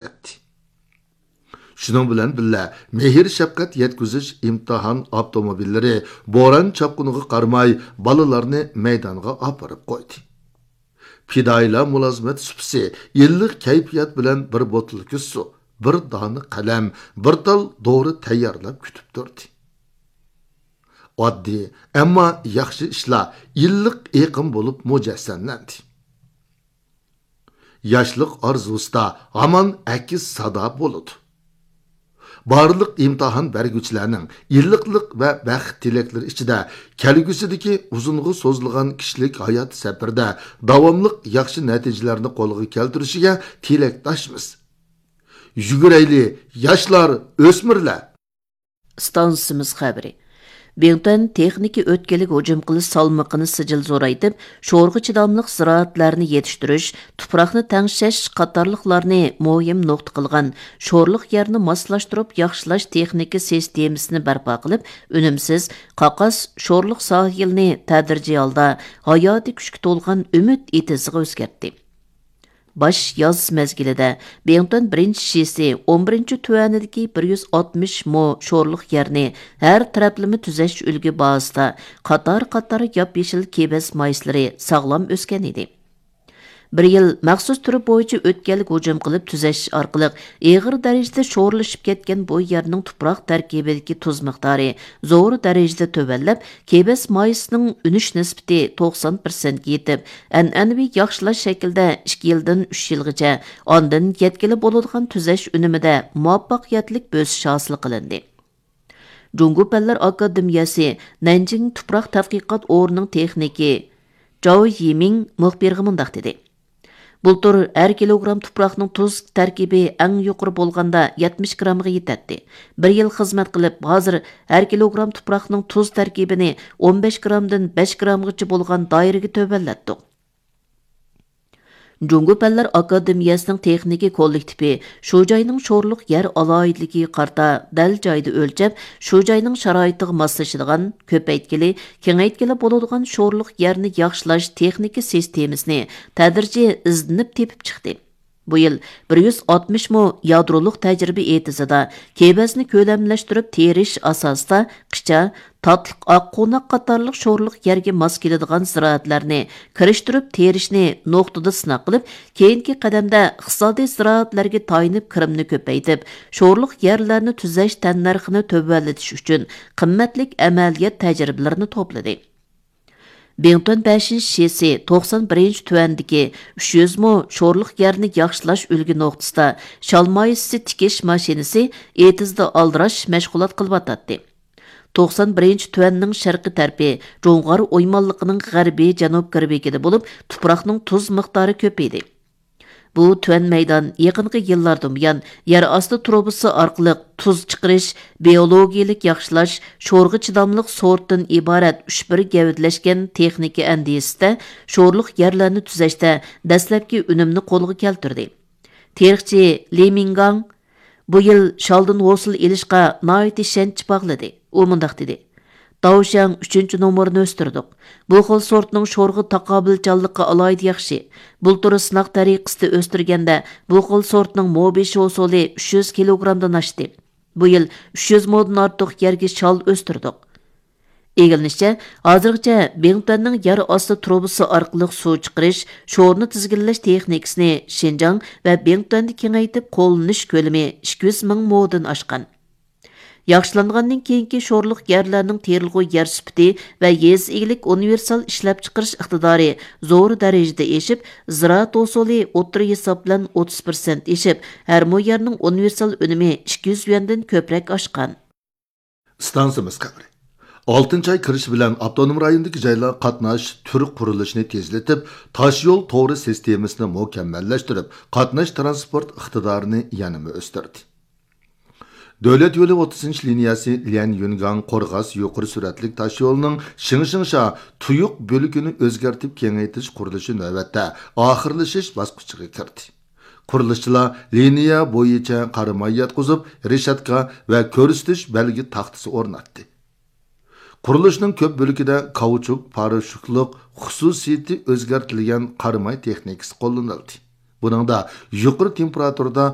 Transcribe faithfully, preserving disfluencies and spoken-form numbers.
ئەتتى. شۇنىڭ بىلەن بىللە، مېھىر-شەپقەت يەتكۈزۈش ئىمتىھان ئاپتوموبىللىرى بوران-چاپقۇنغا قارىماي، بالىلارنى مەيدانغا ئاپىرىپ قويدى. پىدائىيلار مۇلازىمەت سۇپىسى، ئىللىق كەيپىيات بىلەن بىر بوتۇلكا سۇ، بىر دانە قەلەم، بىر تال دورا تەييارلاپ كۈتۈپ تۇردى. ئاددىي، ئەمما ياخشى ئىشلار ئىللىق ئېقىم بولۇپ مۇجەسسەملەندى. ياشلىق ئارزۇسىدا ھامان ئەكس سادا بولىدۇ. بارلىق ئىمتىھان بەرگۈچىلەرنىڭ ئىللىقلىق ۋە بەخت تىلەكلىرى ئىچىدە كەلگۈسىدىكى ئۇزۇنغا سوزۇلغان كىشىلىك ھايات سەپىرىدە داۋاملىق ياخشى نەتىجىلەرنى قولغا كەلتۈرۈشىگە تىلەكداشمىز. يۈگۈرەيلى، ياشلار، ئۆسمۈرلەر! ئىستانسىمىز خەۋىرى. بىڭتۈەن تېخنىكا ئۆتكىلىگە ھۇجۇم قىلىش سالمىقىنى سىجىل زورايتىپ، شورغا چىداملىق زىرائەتلەرنى يېتىشتۈرۈش، تۇپراقنى تەڭشەش قاتارلىقلارنى مۇھىم نۇقتا قىلغان شورلۇق يەرنى ماسلاشتۇرۇپ ياخشىلاش تېخنىكا سىستېمىسىنى بەرپا قىلىپ، ئۈنۈمسىز، قاقاس شورلۇق ساھىلىنى تەدرىجىي ھالدا ھاياتىي كۈچكە تولغان ئۈمىد ئېتىزىغا ئۆزگەرتتى. باش ياز مەزگىلىدە بىڭتۈەن بىرىنچى شىسى ئون بىرىنچى تۈەنىدىكى بىر يۈز ئاتمىش مو شورلۇق يەرنى ھەر تەرەپلىمە تۈزەش ئۈلگە بازىسىدا قاتار-قاتار ياپيېشىل كېبەز مايسىلىرى ساغلام ئۆسكەن ئىدى. بىر يىل مەخسۇس تۈرى بويىچە ئۆتكەلگە ھۇجۇم قىلىپ تۈزەش ئارقىلىق ئېغىر دەرىجىدە شورلىشىپ كەتكەن بۇ يەرنىڭ تۇپراق تەركىبىدىكى تۇز مىقدارى زور دەرىجىدە تۆۋەنلەپ، كېبەز مايسىنىڭ ئۈنۈش نىسبىتى توقسان پىرسەنتكە يېتىپ، ئەنئەنىۋى ياخشىلاش شەكلىدە ئىككى يىلدىن ئۈچ يىلغىچە، ئاندىن يەتكىلى بولىدىغان تۈزەش ئۈنۈمىدە مۇۋەپپەقىيەتلىك بۆسۈش ھاسىل قىلىندى. جۇڭگو پەنلەر ئاكادېمىيەسى نەنجىڭ تۇپراق تەتقىقات ئورنىنىڭ تېخنىكى جاۋ يىمىڭ مۇخبىرغا مۇنداق دېدى: بۇلتۇر ھەر كىلوگرام تۇپراقنىڭ تۇز تەركىبى ئەڭ يۇقىرى بولغاندا يەتمىش گرامغا يېتەتتى. بىر يىل خىزمەت قىلىپ، ھازىر ھەر كىلوگرام تۇپراقنىڭ تۇز تەركىبىنى ئون بەش گرامدىن بەش گرامغىچە بولغان دائىرىگە تۆۋەنلەتتۇق. جۇڭگو پەنلەر ئاكادېمىيەسىنىڭ تېخنىكا كوللېكتىپى شۇ جاينىڭ شورلۇق يەر ئالاھىدىلىكىگە قارىتا دەل جايىدا ئۆلچەپ، شۇ جاينىڭ شارائىتىغا ماسلىشىدىغان، كۆپەيتكىلى، كېڭەيتكىلى بولىدىغان شورلۇق يەرنى ياخشىلاش تېخنىكا سىستېمىسىنى تەدرىجىي ئىزدىنىپ تېپىپ چىقتى. بۇ يىل بىر يۈز ئاتمىش مو يادرولۇق تەجرىبە ئېتىزىدا كېۋەزنى كۆلەملەشتۈرۈپ تېرىش ئاساسىدا قىچا، تاتلىق ئاققوناق قاتارلىق شورلۇق يەرگە ماس كېلىدىغان زىرائەتلەرنى كىرىشتۈرۈپ تېرىشنى نۇقتىدا سىناق قىلىپ، كېيىنكى قەدەمدە ئىقتىسادىي زىرائەتلەرگە تايىنىپ كىرىمنى كۆپەيتىپ، شورلۇق يەرلەرنى تۈزەش تەننەرخىنى تۆۋەنلىتىش ئۈچۈن قىممەتلىك ئەمەلىيەت تەجرىبىلىرىنى توپلىدى. بىڭتۈەن بەشىنچى شىسى توقسان بىرىنچى تۈەندىكى ئۈچ يۈز مو شورلۇق يەرنى ياخشىلاش ئۈلگە نۇقتىسىدا شال مايسىسى تىكىش ماشىنىسى ئېتىزدا ئالدىراش مەشغۇلات قىلىۋاتاتتى. توقسان بىرىنچى تۈەننىڭ شەرقىي تەرىپى جۇڭغار ئويمانلىقىنىڭ غەربىي جەنۇب غەربىيىگىدە بولۇپ، تۇپراقنىڭ تۇز مىقدارى كۆپ ئىدى. بۇ تۈەن مەيدان يېقىنقى يىللاردىن بۇيان يەر ئاستى تۇرۇبىسى ئارقىلىق تۇز چىقىرىش، بىئولوگىيىلىك ياخشىلاش، شورغا چىداملىق سورتتىن ئىبارەت ئۈچ بىر گەۋدىلەشكەن تېخنىكا ئەندىزىسىدە شورلۇق يەرلەرنى تۈزەشتە دەسلەپكى ئۈنۈمنى قولغا كەلتۈردى. تېرىقچى لى مىڭگاڭ بۇ يىل شالدىن ھوسۇل ئېلىشقا ناھايىتى ئىشەنچ باغلىدى. ئۇ مۇنداق دېدى: داۋشياڭ ئۈچىنچى نومۇرىنى ئۆستۈردۇق. بۇ خىل سورتنىڭ شورغا تاقابىلچانلىقى ئالاھىدە ياخشى. بۇلتۇر سىناق تەرىقىسىدە ئۆستۈرگەندە، بۇ خىل سورتنىڭ مو بېشى ھوسۇلى ئۈچ يۈز كىلوگرامدىن ئاشتى. بۇ يىل ئۈچ يۈز مودىن ئارتۇق يەرگە شال ئۆستۈردۇق. ئىگىلىنىشىچە، ھازىرغىچە بىڭتۈەننىڭ يەر ئاستى تۇرۇبىسى ئارقىلىق سۇ چىقىرىش، شورنى تىزگىنلەش تېخنىكىسىنى شىنجاڭ ۋە بىڭتۈەندە كېڭەيتىپ قوللىنىش كۆلىمى ئىككى يۈز مىڭ مودىن ئاشقان. ياخشىلانغاندىن كېيىنكى شورلۇق يەرلەرنىڭ تېرىلغۇ يەر سۈپىتى ۋە يېزا ئىگىلىك ئۇنىۋېرسال ئىشلەپچىقىرىش ئىقتىدارى زور دەرىجىدە ئېشىپ، زىرائەت ھوسۇلى ئوتتۇرا ھېساب بىلەن ئوتتۇز پىرسەنت ئېشىپ، ھەر مو يەرنىڭ ئۇنىۋېرسال ئۈنۈمى ئىككى يۈز يۈەندىن كۆپرەك ئاشقان. ئىستانسىمىز خەۋىرى. ئالتىنچى ئاي كىرىشى بىلەن ئاپتونوم رايوندىكى جايلار قاتناش تۈر قۇرۇلۇشىنى تېزلىتىپ، تاشيول تورى سىستېمىسىنى مۇكەممەللەشتۈرۈپ، قاتناش تىرانسپورت ئىقتىدارىنى يەنىمۇ ئۆستۈردى. دۆلەت يولى ئوتتۇزىنچى لىنىيەسى ليەن يۈنگاڭ قورغاس يۇقىرى سۈرئەتلىك تاشيولىنىڭ شىڭشىڭشا تۇيۇق بۆلىكىنى ئۆزگەرتىپ كېڭەيتىش قۇرۇلۇشى نۆۋەتتە ئاخىرلىشىش باسقۇچىغا كىردى. قۇرۇلۇشچىلار لىنىيە بويىچە قاراماي ياتقۇزۇپ، رېشاتكا ۋە كۆرسىتىش بەلگە تاختىسى ئورناتتى. قۇرۇلۇشنىڭ كۆپ بۆلىكىدە كاۋچۇك پاراشوكلۇق خۇسۇسىيىتى ئۆزگەرتىلگەن قاراماي تېخنىكىسى قوللىنىلدى. بۇنىڭدا يۇقىرى تېمپېراتۇرىدا